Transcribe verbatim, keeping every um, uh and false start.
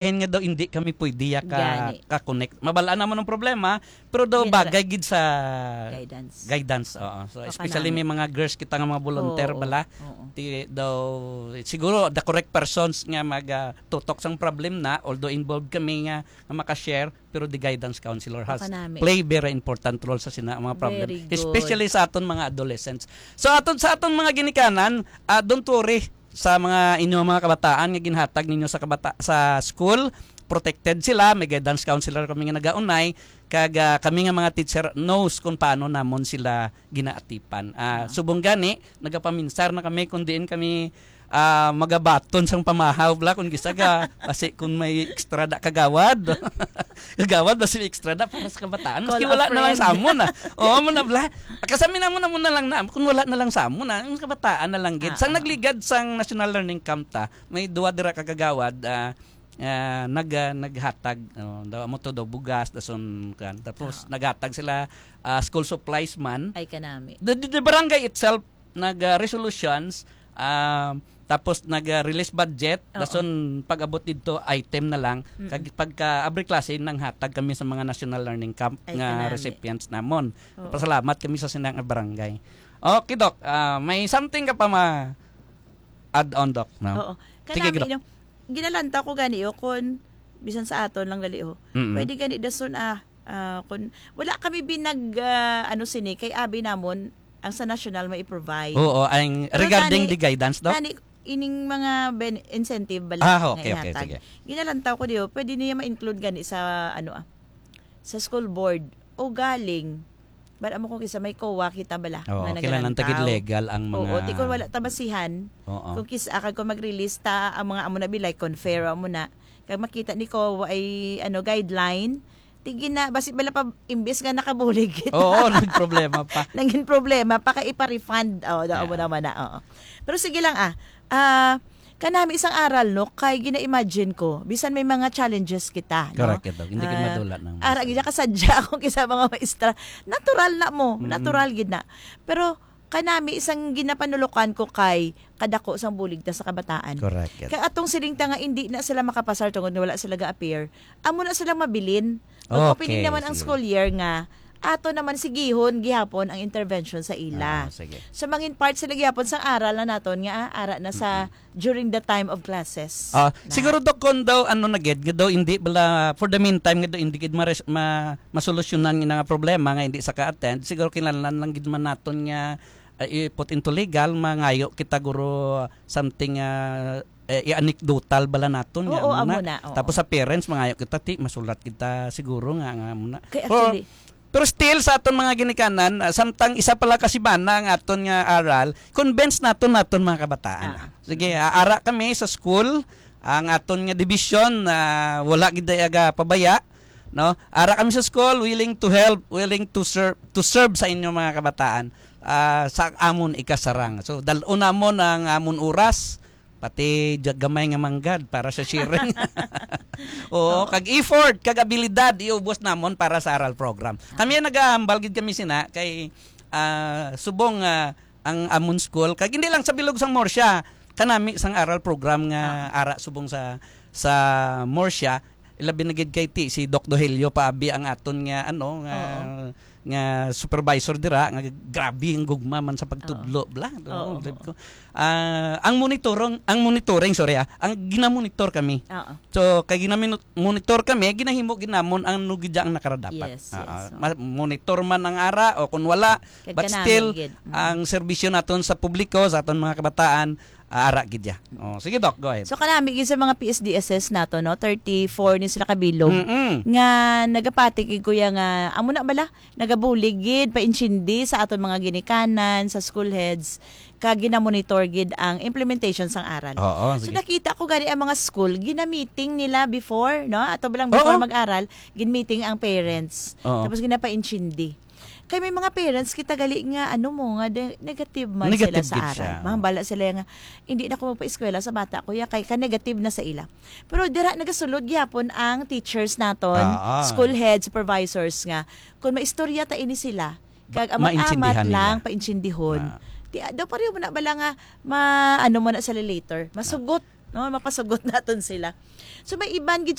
Kaya nga daw hindi kami pwede ya ka, Gani. ka-connect. Mabal-an naman ang problema, pero daw Hindi na- bagay gid sa Guidance. guidance. Oo. So, O, especially kanami. may mga girls kita nga mga volunteer Oo. bala. Oo. Ti, daw, siguro the correct persons nga mag, ah, tutok sang problem na, although involved kami nga, nga maka-share, pero the guidance counselor has O, kanami. play very important role sa sina mga problem, Very good. especially sa aton mga adolescents. So, aton, sa aton mga ginikanan, ah, don't worry sa mga inyo mga kabataan nga ginhatag ninyo sa kabata-, sa school, protected sila, may guidance counselor kami nga nagaunay, kag, ah, kami nga mga teacher knows kung paano namon sila ginaatipan. Ah, Ah. subong gani, nagapaminsar na kami kung diin kami, ah, magabaton sang pamahaw, bla, kung gisaga, kasi kung may extra da kagawad. Kagawad, basi may extra da para sa kabataan. Maski Call a wala na lang friend. sa amon, ah. Oo, mo na, bla. Kasami na mo na, mo na lang na. Kung wala na lang sa amon, ah. Ang kabataan na lang gid. Ah, Sang ah. nagligad sang National Learning Camp ta, may duwa dira ka kagawad, ah, ah, nag, ah, naghatag, oh, daw, amo to daw, bugas, dason, kan. Tapos, Ah. naghatag sila, ah, school supplies man. Ay, kanami. The, the, the barangay itself, nag, ah, resolutions, ah, tapos nag, ah, release budget, Oo. dason pag-abot didto, item na lang. Mm-mm. Kag pagka abri klase, nanghatag kami sa mga National Learning Camp Ay, nga kanami. recipients namon. Oo. Pasalamat kami sa sinang barangay. Okay, Doc. Ah, may something ka pa ma-add on, Doc, no? Oo. Sige, Kanami, Doc. no, ginalantaw ko gani, oh, kun bisan sa aton lang gali, oh. Mm-mm. Pwede gani dason, ah, ah, kun wala kami binag, ah, ano sini, kay abi namon, ang sa national may i-provide. Oo, ang Pero regarding tani, the guidance, Doc? tani, ining mga ben-, incentive bala Ah, nga okay, okay, ihatag. sige. Ginalantaw ko diyo, pwede niya ma-include gani sa, ano, ah, sa school board. O galing, bala mo kung kisa may kowa kita bala Oo, nga kailangan nagalantaw. tagid legal ang Oo, mga ti kung wala ta basihan, Oo. kung kis-, ah, kag kung mag-release ta ang mga amo na bilay, confirm amo na. Kag makita ni kowa ay, ano, guideline, ti gina-, basi bala pa, imbis nga nakabulig kita. Oo, nagproblema pa. Nangin problema pa kay ipa-refund. Oh, da, amo Yeah. naman na, oo. Pero sige lang, ah. Ah, kanami isang aral, no, kay gina-imagine ko, bisan may mga challenges kita, no? Correct, ito. Hindi ka Ah, madula ng ara, minsan. gina kasadya akong isa mga maestra. Natural na mo, Mm-mm. natural gid na. Pero kanami isang ginapanulukan ko kay kadako sang bulig ta sa kabataan. Correct, ito. Kay atong siling ta nga hindi na sila makapasar tungod nga wala sila ga-appear. Amo na sila mabilin. Mag-opening Okay, naman ang sige. school year nga ato naman sigihon gihapon ang intervention sa ila. Ah, sige. So, mangin part sila gihapon sang aral na naton nga, ah, ara na sa Mm-mm. during the time of classes Ah, na. siguro, Doc, kung daw, ano na gid, nga daw hindi bala, for the meantime, nga daw hindi gid mares-, ma-, masolusyonan nga nga problema nga hindi sa ka-attend, siguro kinahanglan lang gid man naton nga, ah, i-put into legal, mangayo kita, guro, something, ah, eh, i-anekdotal bala naton nga Oo, amo amo na. na, oo. Tapos sa parents, mangayo kita, ti, masulat kita siguro nga, nga amo na. Kay Pero, actually, pero still, sa aton mga ginikanan, ah, samtang isa pala ka simana ang aton nga aral, convince naton naton mga kabataan. Ah. Sige, ah, ara kami sa school, ang aton nga division, ah, wala gid aga pabaya, no? Ara kami sa school, willing to help, willing to serve, to serve sa inyo mga kabataan, ah, sa amon ikasarang. So, dal-on namon ang amon oras, pati ja-, gamay nga manggad para sa sharing. Oo, Oo. kag effort, kag abilidad, iubos namon para sa aral program. Kami ang nagahambal gid kami sina kay, ah, subong, ah, ang amon school, kag hindi lang sa bilog sang Murcia, kanami sang aral program nga Ah. ara subong sa, sa Murcia, ilabi na gid kay ti, si Doc Dohelio paabi ang aton nga, ano, nga, Oo. nga supervisor dira, nga grabe ang gugma man sa pagtudlo, Oo. bla. Oo, Oo, sabi oo. ko. Ah, ang monitorong, ang monitoring, sorry, ah, ang ginamonitor kami. Oo. So, kay ginamino-, monitor kami, ginahimo gid namon ang nugidya ang nakarapat. Yes, Ah, yes, ah, oo. ma-, monitor man ang ara o kung wala, Kag but kanami still, gid. Mm. ang serbisyo naton sa publiko, sa aton mga kabataan, ah, ara gid ya. Oh, sige, Doc, go ahead. So, kanami gid sa mga P S D S S nato, no? Thirty-four ni sila kabilog Mm-mm. nga nagapati kay kuya nga, amo na bala, nagabulig gid, paintindi sa aton mga ginikanan, sa school heads, kag ginamonitor gid ang implementation sang aral. Oo, So, sige. nakita ko gani ang mga school, gina-meeting nila before, no? Ato ba lang before Oo. mag-aral, gin-meeting ang parents. Oo. Tapos ginapaintindi. Kay may mga parents kita gali nga, ano mo, nga de-, negative man Negative sila sa gid aral. siya. Mahambala sila nga, "Hindi na ko magpa-eskwela sa bata ko, ya, kay ka-negative na sa ila." Pero dira nagasulod gyapon ang teachers naton, Ah, ah. school head, supervisors nga, "Kung maistorya ta ini sila, kag Ba-, amat-amat maintindihan lang, nila. paintindihon." Ah. Ti, ah, daw pareho mo na bala nga, ma-, ano mo na sila later, masugot. no? Mapasugot naton sila. So may iban gid